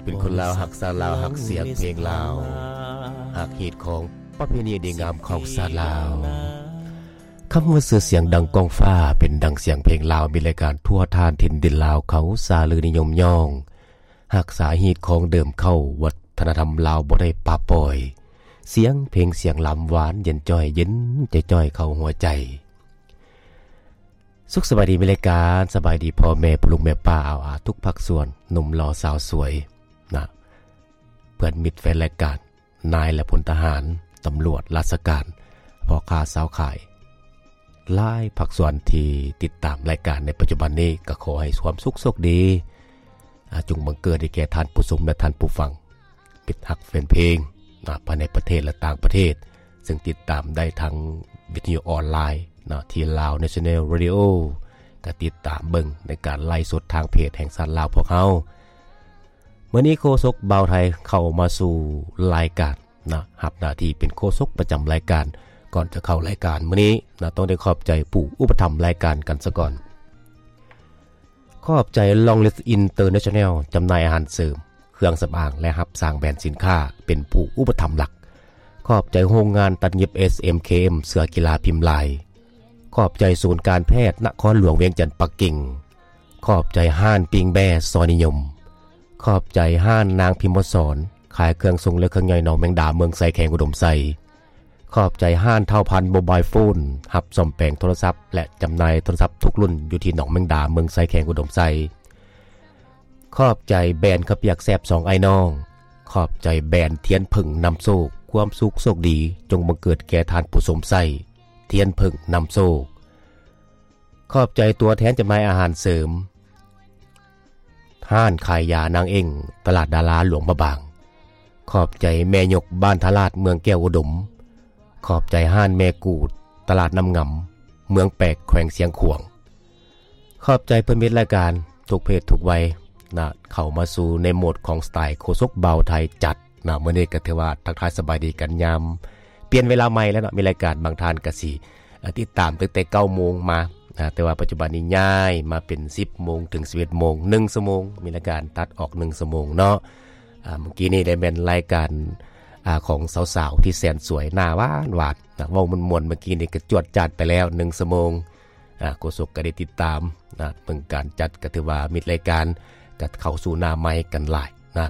ເປັນຄົນລາວຮັກຊາດລາວ ຮັກສຽງເພງລາວ ຮັກຮີດຄອງປະເພນີດີງາມຂອງຊາດລາວ. ຄຳວ່າຊື່ສຽງດັ່ງກ້ອງຟ້າ ເປັນດັ່ງສຽງເພງລາວ ມີລາຍການທົ່ວທ່ານຖິ່ນດິນລາວເຂົາ ສາລືນິຍົມຍ້ອງ ຮັກສາຮີດຄອງເດີມເກົ່າ ວັດທະນະທຳລາວບໍ່ໄດ້ປະປ່ອຍ ສຽງເພງສຽງລຳ ຫວານເຢັນຈ້ອຍ ເຢັນຈ່ອຍໆເຂົ້າຫົວໃຈ. ສຸກສະບາຍດີ ມີລາຍການ ສະບາຍດີພໍ່ແມ່ ພໍ່ລຸງແມ່ປ້າ ອາວອາ ທຸກພາກສ່ວນ ໜຸ່ມຫຼໍ່ສາວສວຍນະ ເພື່ອນມິດແຟນລາຍການ ນາຍແລະພົນທະຫານ ຕຳຫຼວດ ລາຊະການ ພໍ່ຄ້າຊາວຂາຍ ຫຼາຍພາກສ່ວນທີ່ຕິດຕາມລາຍການໃນປັດຈຸບັນນີ້ ກໍຂໍໃຫ້ຄວາມສຸກໂຊກດີ ອາ ຈົ່ງບັງເກີດໃຫ້ແກ່ທ່ານຜູ້ຊົມ ແລະ ທ່ານຜູ້ຟັງ ມິດຮັກແຟນເພງນະ ພາຍໃນປະເທດ ແລະ ຕ່າງປະເທດ ເຊິ່ງຕິດຕາມໄດ້ທາງວິທະຍຸອອນລາຍນະ ທີ່ Lao National Radio ກໍຕິດຕາມເບິ່ງໃນການໄລຟ໌ສົດທາງເພຈແຫ່ງຊາດລາວພວກເຮົາ. ມື້ນີ້ໂຄສົກບ່າວໄທເຂົ້າມາສູ່ລາຍການນະ ຮັບໜ້າທີ່ເປັນໂຄສົກປະຈຳລາຍການ. ກ່ອນຈະເຂົ້າລາຍການມື້ນີ້ນະ ຕ້ອງໄດ້ຂອບໃຈຜູ້ອຸປະຖຳລາຍການກັນສະກ່ອນ. ຂອບໃຈ Long List International ຈຳໜ່າຍອາຫານເສີມ, ເຄື່ອງສຳອາງ ແລະ ຮັບສ້າງແບຣນສິນຄ້າ ເປັນຜູ້ອຸປະຖຳຫຼັກ. ຂອບໃຈໂຮງງານຕັດຫຍິບ ເອສເອັມເຄເອັມ ເສື້ອກິລາພິມລາຍ. ຂອບໃຈສູນການແພດນະຄອນຫຼວງວຽງຈັນປັກກິ່ງ. ຂອບໃຈຮ້ານປີ້ງແບ້ຊອຍນິຍົມ. ຂອບໃຈຮ້ານນາງພິມມະສອນ ຂາຍເຄື່ອງຊົງ ແລະ ເຄື່ອງຍ່ອຍໜອງແມງດາ ເມືອງໄຊ ແຂວງອຸດົມໄຊ. ຂອບໃຈຮ້ານທ້າວພັນໂມບາຍໂຟນ ຮັບສ້ອມແປງໂທລະສັບ ແລະ ຈຳໜ່າຍໂທລະສັບທຸກລຸ້ນ ຢູ່ທີ່ໜອງແມງດາ ເມືອງໄຊ ແຂວງອຸດົມໄຊ. ຂອບໃຈແບຣນເຂົ້າປຽກແຊບສອງອ້າຍນ້ອງ. ຂອບໃຈແບຣນທຽນເຜິ້ງນຳໂຊກ ຄວາມສຸກໂຊກດີ ຈົ່ງບັງເກີດແກ່ທ່ານຜູ້ຊົມໃຊ້ ທຽນເຜິ້ງນຳໂຊກ. ຂອບໃຈຕົວແທນຈຳໜ່າຍອາຫານເສີມ ຮ້ານຂາຍຢານາງເອັ້ງ ຕະຫຼາດດາລາ ຫຼວງພະບາງ. ຂອບໃຈແມ່ຍົກບ້ານທ່າລາດ ເມືອງແກ້ວອຸດົມ. ຂອບໃຈຮ້ານແມ່ກູດ ຕະຫຼາດນ້ຳງຳ ເມືອງແປກ ແຂວງຊຽງຂວາງ. ຂອບໃຈເພື່ອນມິດລາຍການທຸກເພດທຸກໄວນະ ເຂົ້າມາສູ່ໃນໂໝດຂອງສະໄຕໂຄສົກບ່າວໄທຈັດນະ. ມື້ນີ້ກໍຖືວ່າທັກທາຍສະບາຍດີກັນຍາມປ່ຽນເວລາໃໝ່ແລ້ວເນາະ. ມີລາຍການບາງທ່ານກໍຊິ ເອີ ຕິດຕາມຕັ້ງແຕ່ເກົ້າໂມງມານະ ແຕ່ວ່າປັດຈຸບັນນີ້ຍ້າຍມາເປັນສິບໂມງເຖິງສິບເອັດໂມງ ໜຶ່ງຊົ່ວໂມງ ມີລາຍການຕັດອອກໜຶ່ງຊົ່ວໂມງເນາະ. ອາ ເມື່ອກີ້ນີ້ໄດ້ແມ່ນລາຍການ ອາ ຂອງສາວໆທີ່ແສນສວຍ ໜ້າຫວານໆນະ ເວົ້າມ່ວນໆ ເມື່ອກີ້ນີ້ກໍຈວດຈາດໄປແລ້ວໜຶ່ງຊົ່ວໂມງ. ອາ ໂຄສົກກໍໄດ້ຕິດຕາມນະ ເບິ່ງການຈັດ ກໍຖືວ່າມິດລາຍການກໍເຂົ້າສູ່ໜ້າໄມກັນຫຼາຍນະ.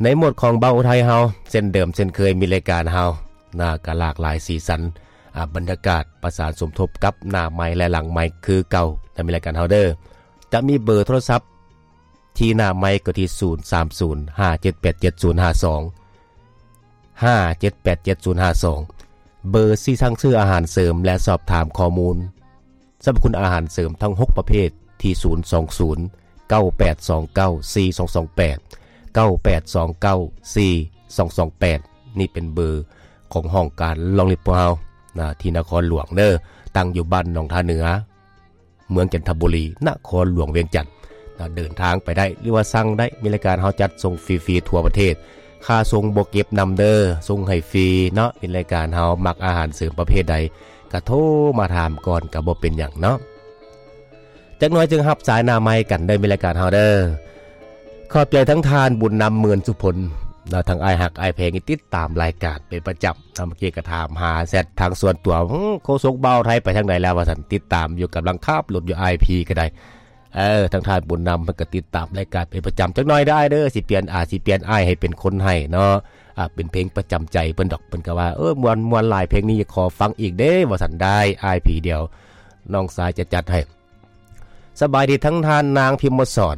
ໃນໂໝດຂອງບ່າວໄທເຮົາ ເຊັ່ນເດີມເຊັ່ນເຄີຍ ມິດລາຍການເຮົານະ ກໍຫຼາກຫຼາຍສີສັນ ອາ ບັນຍາກາດປະສານສົມທົບກັບໜ້າໄມ ແລະ ຫຼັງໄມຄືເກົ່ານະ. ມີລາຍການເຮົາເດີ ຈະມີເບີໂທລະສັບທີ່ໜ້າໄມກໍທີ່ ສູນສາມສູນ ຫ້າເຈັດແປດເຈັດ ສູນຫ້າສອງ ຫ້າເຈັດແປດເຈັດ ສູນຫ້າສອງ. ເບີທີ່ສັ່ງຊື້ອາຫານເສີມ ແລະ ສອບຖາມຂໍ້ມູນສັບພະຄຸນອາຫານເສີມທັງຫົກປະເພດ ທີ່ ສູນສອງສູນ ເກົ້າແປດສອງເກົ້າ ສີ່ສອງສອງແປດ ເກົ້າແປດສອງເກົ້າ ສີ່ສອງສອງແປດ. ນີ້ເປັນເບີຂອງຫ້ອງການ Long List ພວກເຮົານະ ທີ່ນະຄອນຫຼວງເດີ ຕັ້ງຢູ່ບ້ານໜອງທ່າເໜືອ ເມືອງຈັນທະບູລີ ນະຄອນຫຼວງວຽງຈັນນະ. ເດີນທາງໄປໄດ້ ຫຼືວ່າສັ່ງໄດ້ ມີລາຍການເຮົາຈັດສົ່ງຟຣີໆທົ່ວປະເທດ ຄ່າສົ່ງບໍ່ເກັບນຳເດີ ສົ່ງໃຫ້ຟຣີເນາະ. ມີລາຍການເຮົາມັກອາຫານເສີມປະເພດໃດ ກະໂທມາຖາມກ່ອນ ກະບໍ່ເປັນຫຍັງເນາະ. ຈັກໜ້ອຍຈຶ່ງຮັບສາຍໜ້າໄມກັນເດີ ມີລາຍການເຮົາເດີ. ຂອບໃຈທັງທ່ານບຸນນຳ ໝື່ນສຸພົນ ແລະ ທັງອ້າຍຮັກອ້າຍແພງທີ່ຕິດຕາມລາຍການເປັນປະຈຳ. ເມື່ອກີ້ກໍຖາມຫາແຊັດທາງສ່ວນຕົວ ໂຄສົກບ່າວໄທໄປທາງໃດແລ້ວວ່າຊັ້ນ ຕິດຕາມຢູ່ ກຳລັງຂັບລົດຢູ່ ອ້າຍພີກໍໄດ້. ເອີ ທາງທ່ານບຸນນຳເພິ່ນກໍຕິດຕາມລາຍການເປັນປະຈຳ. ຈັກໜ້ອຍເດີ ເດີ ຊິປ່ຽນ ອາ ຊິປ່ຽນອ້າຍໃຫ້ເປັນຄົນໃຫ້ເນາະ. ອາ ເປັນເພງປະຈຳໃຈເພິ່ນດອກ ເພິ່ນກໍວ່າ ເອີ ມ່ວນ ມ່ວນຫຼາຍ ເພງນີ້ຂໍຟັງອີກເດ້ ວ່າຊັ້ນ. ໄດ້ ອ້າຍພີ ດຽວນ້ອງຊາຍຈະຈັດໃຫ້. ສະບາຍດີທັງທ່ານນາງພິມມະສອນ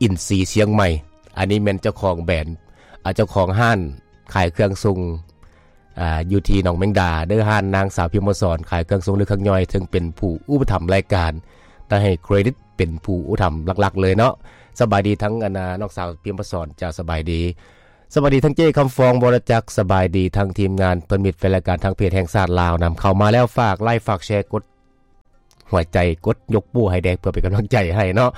ອິນຊີຊຽງໃໝ່. ອັນນີ້ແມ່ນເຈົ້າຂອງແບຣນ ອາ ເຈົ້າຂອງຮ້ານຂາຍເຄື່ອງຊົງ ອາ ຢູ່ທີ່ໜອງແມງດາເດີ. ຮ້ານນາງສາວພິມມະສອນຂາຍເຄື່ອງຊົງ ຫຼື ເຄື່ອງຍ່ອຍ ເຊິ່ງເປັນຜູ້ອຸປະຖຳລາຍການ ຕ້ອງໃຫ້ເຄຣດິດເປັນຜູ້ອຸປະຖຳຫຼັກໆເລີຍເນາະ. ສະບາຍດີທັງ ອັນ ນ້ອງສາວພິມມະສອນ ເຈົ້າ ສະບາຍດີ. ສະບາຍດີທັງເຈ້ຄຳຟອງ ວໍລະຈັກ. ສະບາຍດີທັງທີມງານເພື່ອນມິດແຟນລາຍການ ທາງເພຈແຫ່ງຊາດລາວນຳ. ເຂົ້າມາແລ້ວຝາກໄລ ຝາກແຊ ກົດ ຫົວໃຈ ກົດຍົກໂປ້ໃຫ້ແດ່ ເພື່ອເປັນກຳລັງໃຈໃຫ້ເນາະ.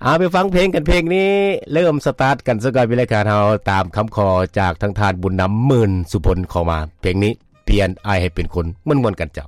ເອົາ ໄປຟັງເພງກັນ ເພງນີ້ເລີ່ມສະຕາດກັນຊະກ່ອນ. ມີລາຍການເຮົາຕາມຄຳຂໍຈາກທາງທ່ານບຸນນຳ ໝື່ນສຸພົນ ເຂົ້າມາ ເພງນີ້ ປ່ຽນອ້າຍໃຫ້ເປັນຄົນ. ມ່ວນໆກັນເຈົ້າ.